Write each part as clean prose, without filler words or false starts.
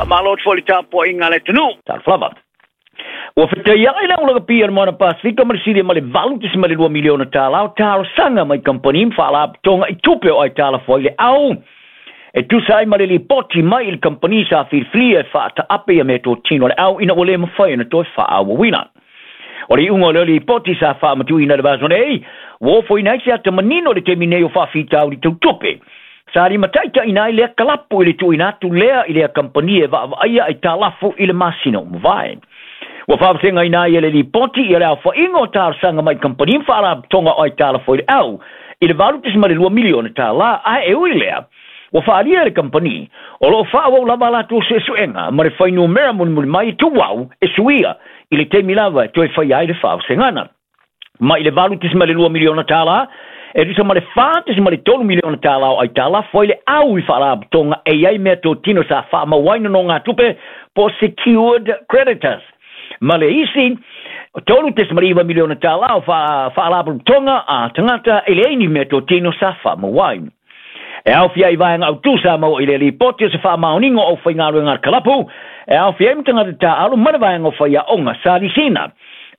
Faamalo atu foi i le tapuaiga a le atunuu. Talofa lava. Ua fetaiai le aulakapi a le Moana Pasefika ma le silia ma le $8.2 miliona tālā o talosaga mai kamupani ma faalapotopotoga i tupe o aitalafu ai le au e tusa ai ma le lipoti mai i le kamupani sa filifilia e faataape ia meatotino a le au ina ua le mafai ona toe faaauauina. O le iuga o lea lipoti sa faamatuuina i le vaiaso nei, ua ofoina ai se ata manino i le taimi nei o faafitauli tau tupe. Sa limataitaiina ai lea kalapu i le tuuina atu lea i lea kamupani e vaavaaia aitalafu i le masina ua mavae. Ua faavasegaina ai e le lipoti ia le aofaiga o talosaga mai kamupani ma faalapotopotoga o aitalafu ai le au i le $8.2 miliona tālā, ae e ui i lea, ua faaalia e le kamupani o lo o faaauau lava a latou suesuega ma le fuainumera mulimuli mai e tuau e suia i le taimi lava e toe faia ai le faavasegana. Mai le $8.2 miliona tālā, e tusa ma le $4.3 miliona tālā o aitalafu ai le au i faalapotopotoga e i ai meatotino sa faamau ai nonogatupe po o secured creditors, ma le isi $3.9 miliona tālā o faalapotopotoga a tagata e leai ni meatotino sa faamau ai. E aofia ai vaega autū sa maua i le lipoti o se faamaoniga o aufaigaluega a le kalapu, e aofia ai ma tagata taaalo ma le vaega o faiaoga sa lisiina.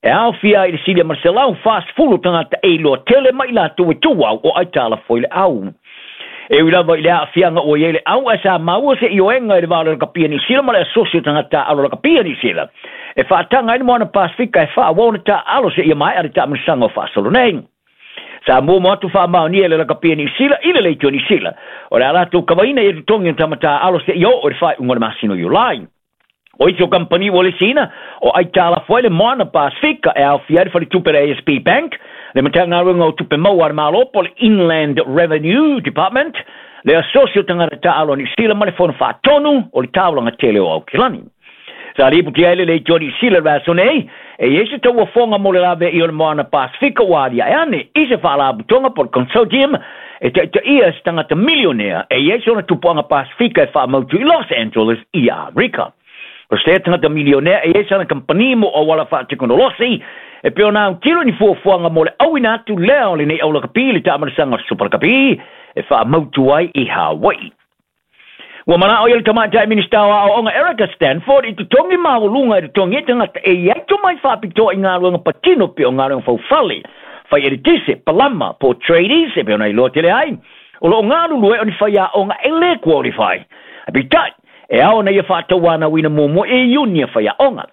E aofia ai le silia ma le 140 tagata e iloa tele ma i latou e tuau o aitalafu ai le au. E ui lava i le aafiaga ua i ai le au, ae sa maua se ioega i le va o le Lakapi a Niu Sila ma le Asosi o Tagata Taaalo Lakapi a Niu Sila e faataga ai le Moana Pasefika e faaauau ona taaalo seia maea le taamilosaga o faasolo nei. Sa muamua atu faamaonia e le Lakapi a Niu Sila i le Leitio Niu Sila o le a latou kavaina i totogi o tama taaalo seia oo i le faaiuga o le masina o Iulai. O isi o kamupani ua lisiina, o aitalafu ai le Moana Pasefika e aofia ai le faletupe le ASB Bank, le Matagaluega o Tupe Maua a le Malo po o le Inland Revenue Department, le Asosi o Tagata Taaalo a Niu Sila ma le Fono Faatonu o le Taulaga Tele o Aukilani. Sa lipotia ai le Leitio Niu Sila i le vaiaso nei, e i ai se tauofoga mo le laveai o le Moana Pasefika ua aliae ane i se faalapotopotoga po o le consortium e taitaia e se tagata milionea e i ai sona tupuaga Pasefika e faamautu i Los Angeles i Amerika. O se tagata milionea e i ai sana kamupani mo auala faatekonolosi e pei ona autilo i ni fuafuaga mo le auina atu lea o lenei aulakapi i le taamilosaga o le Super Lakapi e faamautu ai i Hawaii. Ua manao ia le Tamaitai Minisita o Aoaoga Erica Stanford i totogi maualuga e totogi ai tagata e i ai tomai faapitoa i galuega patino pei o galuega faufale, fai eletise, palama, po o tradies e pei ona iloa tele ai, o lo o galulue o ni faiaoga e le qualify. Peitai, e ao ona ia faatauanauina muamua e iuni a faiaoga.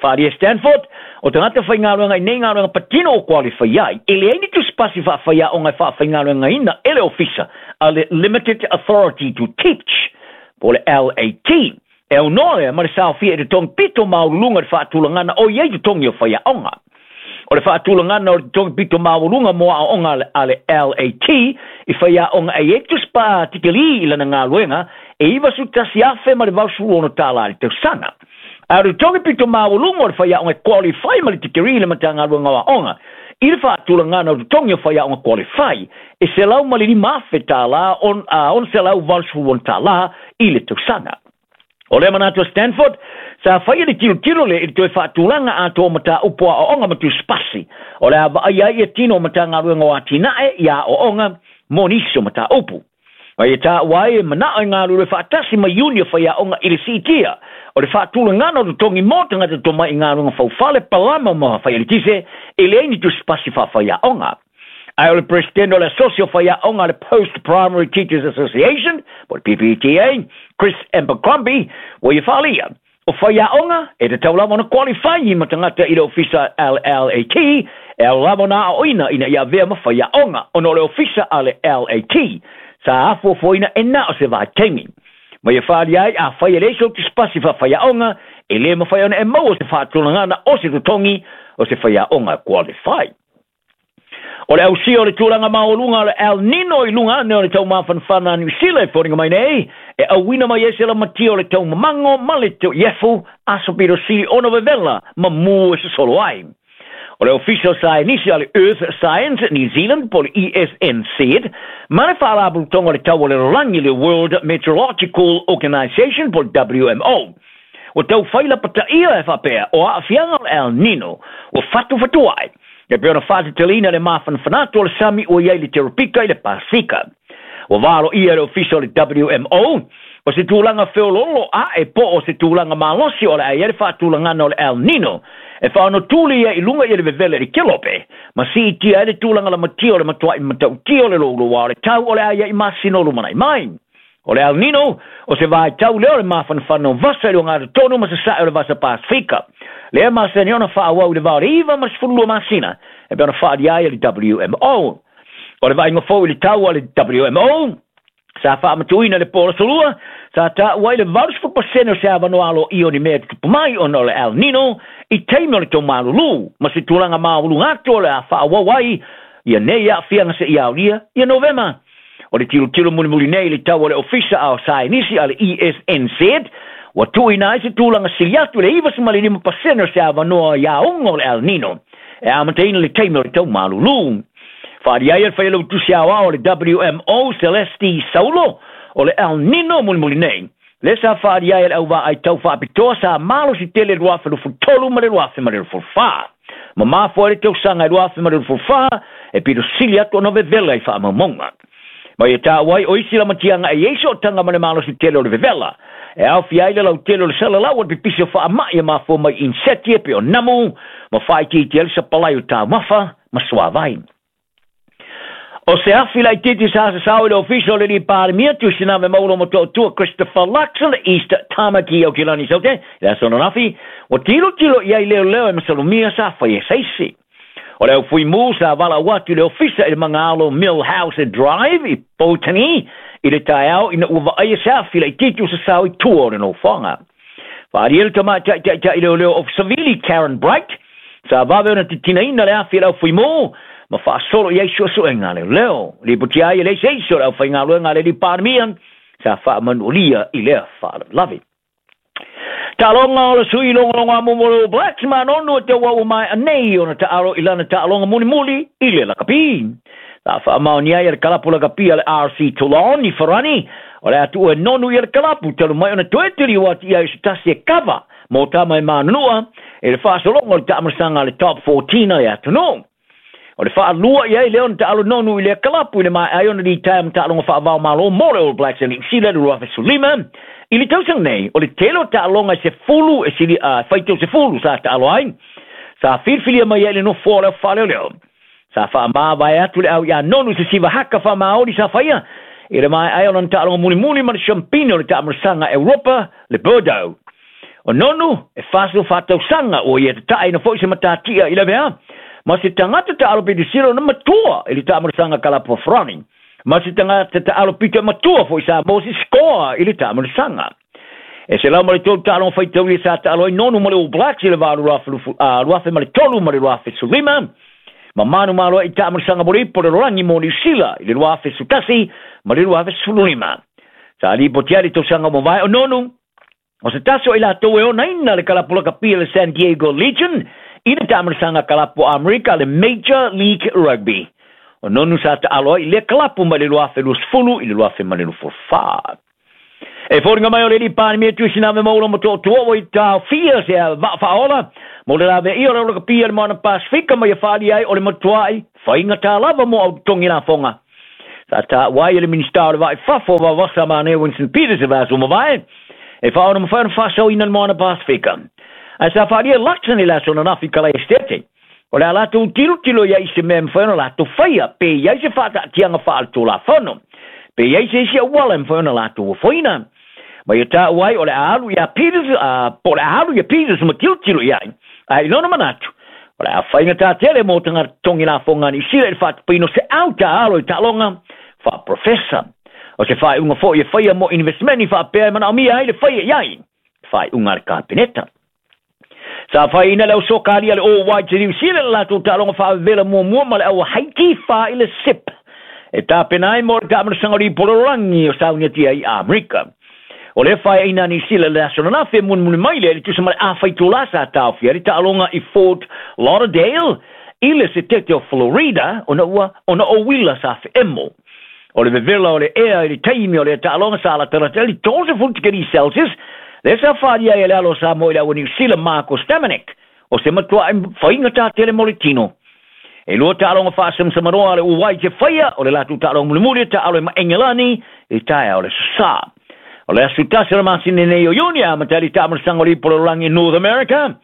Faaalia Stanford, o tagata faigaluega i nei galuega patino o qualify ai, e leai ni tusipasi faafaiaoga e faafaigaluegaina e le ofisa a le Limited Authority to Teach, po o le LAT. E aunoa lea ma le saofia i totogi pito maualuluga i le faatulagana o i ai totogi o faiaoga. O le faatulagana o le totogi pito maualuga mo aoaoga a le LAT i faiaoga e i ai tusipa tikeli i lana galuega e $91,086 i le tausaga. A o le totogi pito maualuga o le faiaoga e qualify ma le tikeri i le Matagaluega o Aoga i le faatulagana o totogi o faiaoga qualify e $105,000 $686 i le tausaga. O lea manatu a Stanford, sa faia le tilotilo lea i le toe faatulaga atoa o mataupu aoaoga ma tusipasi, o le a vaaia ai ia tino o Matagaluega o Atinae i aoaoga mo nisi o mataupu. Ma ia taua ai e manao e galulue faatasi ma iuni o faiaoga i le siitia o le faatulagana o totogi mo tagata tomai i galuega faufale, palama ma fai-eletise e leai ni tusipasi faafaiaoga. Ae o le Peresetene o le Asosi o Faiaoga a le Post Primary Teachers Association, po o le PPTA, Chris Abercrombie, ua ia faaalia, o faiaoga e tatau lava ona qualify ma tagata i le ofisa LLAT e ao lava ona aoaoina ina ia avea ma faiaoga ona o le ofisa a le LAT sa afuafuaina e na o se vaitaimi. Ma ia faaalia ai, afai e leai sou tusipasi faafaiaoga, e le mafai ona e maua se faatulagana o se totogi o se faiaoga qualify. O le ausia o le tulaga maualuga o le El Nino i luga ane o le tau mafanafana a Niu Sila e foliga mai nei, e auina mai ai se lamatia o le tau mamango ma le iefu aso pito sili ona vevela ma mū e sosolo ai. O le Ofisa o Saienisi a le Earth Science New Zealand po o le ESNZ ma le Faalapotopotoga o le Tau o le Lalolagi le World Meteorological Organisation po o le WMO ua tau fai lapataia e faapea o aafiaga o le El Nino ua fatufatuai E pei ona faateteleina le mafanafana atu o le sami ua i ai le Teropika i le Pasefika. Ua valoia e le Ofisa o le WMO, O se tulaga feoloolo a'e po o se tulaga malosi o le a i ai le faatulagana o le El Nino e faaonotuli ai i luga i le vevela i le kelope ma siitia ai le tulaga lamatia o le matua'i matautia o le louloua o le tau o le a i ai i masina o lumana'i mai. O le El Nino, o se vaitau lea o le mafanafana o vasa i le ogatotonu ma sasae o le Vasa Pasifika. Lea masani ona faaauau i le va o le 9 ma le 12 masina e pei ona faaalia ai e le WMO. O le vaaiga fou i le tau a le WMO, sa faamatuuina i le po o le aso Lua, sa taua ai le 80% o se avanoa aloaia o ni mea e tutupu mai ona o le El Nino i taimi o le taumalulu ma se tulaga maualuga atu o le a faaauau ai ia nei aafiaga seia aolia ia Novema. O le tilotilo mulimuli nei i le tau a le Ofisa a o Saienisi a le ESNZ, ua tuuina ai se tulaga sili atu i le 95% o se avanoa i aoga o le El Nino e amataina le taimi o le tau malulu. Faaalia ai e le Failautusi Aoao o le WMO, Celeste Saulo, o le El Nino mulimuli nei, lea sa faaalia ai e le auvaai tau faapitoa sa malosi tele i le 2023 ma le 2024. Ma mafua ai le tausaga i 2024 e pito sili atu ona vevela i faamaumauga. Ma ia taua ai o isi lamatiaga e i ai sootaga ma le malosi tele o le vevela, e aofia ai le lautele o le salalau o le pipisi o faamai e mafua mai i inseti e pei o namu ma faaitiitia ai le sapalai o taumafa ma suavai. O se afi laitiiti sa sasao i le ofisa o le alii Palemia Tuisinave Maulo Motootua Christopher Luxon East Tamaki Aotearoa Saute i le aso ananafi, ua tilotilo i ai leoleo e masalomia sa faia e se isi. O le au fuimu sa valaau atu i le ofisa i le magaalo Mill House Drive i Botany i le taeao ina ua vaaia se afi laitiiti o sasao i tua o le nofoaga. Faaalia le tamaitai taitai leoleo Ofisa Savili Karen Bright, sa vave ona titinaina le afi e le au fuimu ma faasolo i ai suesuega a leoleo. Lipotia ai e leai se isi o le aufaigaluega a le alii Palemia sa faamanualia i lea faalavelave. Taaloga o le sui logologo a mo le All Blacks ma Nonu e tauau ua maea nei ona taalo i lana taaloga mulimuli i le lakapi. Sa faamaonia ai e le kalapu lakapi a le RC Toulon i Farani o le a tuua e Nonu ia le kalapu talu mai ona toe taliu atu i ai o se tasi e kava mō tama e manunua i le faasologa o le taamilosaga a le Top 14 a le atunuu. O le faalua i ai lea ona taalo Nonu i lea kalapu i le maea ai ona litaea ma taaloga faavao malo mo le All Blacks a Niu Sila i le 2015. I le tausaga nei, o le tele o taaloga e sefulu e sili a faitau sefulu sa taalo ai, sa filifilia mai ai le nofoa o le faaleoleo. Sa faamavae atu le au iā Nonu i se siva haka faamaoli sa faia i le maea ai ona taaloga mulimuli ma le siampine o le taamilosaga Europa, le Bordeaux. O Nonu, e 44 tausaga ua ia tataaina foi se matatia i lavea, ma se tagata taalo pito sili ona matua i le taamilosaga kalapu Farani, ma se tagata taalo pito e matua foi sa Moses Scoa i le taamilosaga. E 103 taaloga faitaulia sa taalo ai Nonu ma le All Blacks i le va o le 2003 ma le 2015, ma manumalo ai i taamilosaga mo le ipu o le lalolagi mo Niu Sila i le 2011 ma le 2015. Sa lipoti ai le tausaga ua mavae o Nonu, o se tasi o i latou e onaina le kalapu lakapi a le San Diego Legion i le taamilosaga kalapu o Amerika le Major League Rugby. O Nonu sa taalo ai i lea kalapu mai le 2020 i le 2024. E foliga mai o le alii Palemia Tuisinave Maula Motootua ua i taofia se vaa faaola mo le laveia o le lakapi a le Moana Pasifika ma ia faaalia ai o le matuai faigata lava mo au totogi lafoga. Sa taua ai e le Minisita o le Vaa i Fafo o Vavasa Manea Winston Peters i le vaiaso ua mavae e faaona mafai ona faasaoina le Moana Pasifika. Ae sa faaalia e Luxon i le aso ananafi i Kalaesetete o le a latou tilotilo i ai i se mea e mafai ona latou faia pe i ai se faataatiaga faaletulafono pe i ai se isi auala e mafai ona latou ofoina. Ma ia taua ai o le a alu iā Peters, po o le a alu ia Peters ma tilotilo i ai. Ae i lona manatu, o le a faigata tele mo tagata totogi lafoga a Niu Sila i le faatapaina o se au taalo i taaloga faaprofesa. O se faaiuga foi e faia mo investmeni faapea e manaomia ai le faia i ai le faaiuga a le Kapeneta. Sa faiina le au sokalia a le All Whites i Niu Sila i le latou taaloga faavevela muamua ma le au Haiti fa i le sip e tapena ai mo le taamilosaga o le ipu o le lalolagi o sauniatia i Amerika. O lea faeaina a Niu Sila i le aso ananafi e mulimuli mai lea i le tusa ma le a itulā sa taofia ai le taaloga i Fort Lauderdale i le setete o Florida ona ua ona o uila sa feemo. O le vevela o le ea i le taimi o lea taaloga sa latalata ai le 30 tikeri Celsius, lea sa faaalia ai e le alo o Samoa i le au a Niu Sila Marko Stamenic, o se matua'i faigata tele mo le tino. E lua taaloga faasamsamanoa a le All Whites e faia, o le latou taaloga mulimuli e taalo ai ma Engelani i taeao o le aso Sa. O le aso 1 o le masina nei o Iuni, amata ai le taamilosaga o le Ipu o le Lalolagi i North America,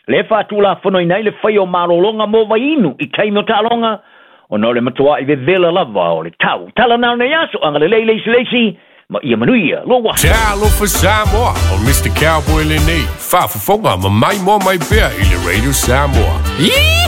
lea e faatulafonoina ai le faia o malologa mo vaiinu i taimi o taaloga, ona o le matua'i vevela lava o le tau. Tala na o lenei aso, agalelei le isi i le isi, ma ia manuia lou aso. Talofa Samoa, o Mr. Cowboy lenei, faafofoga ma maimoa mai pea i le Radio Samoa.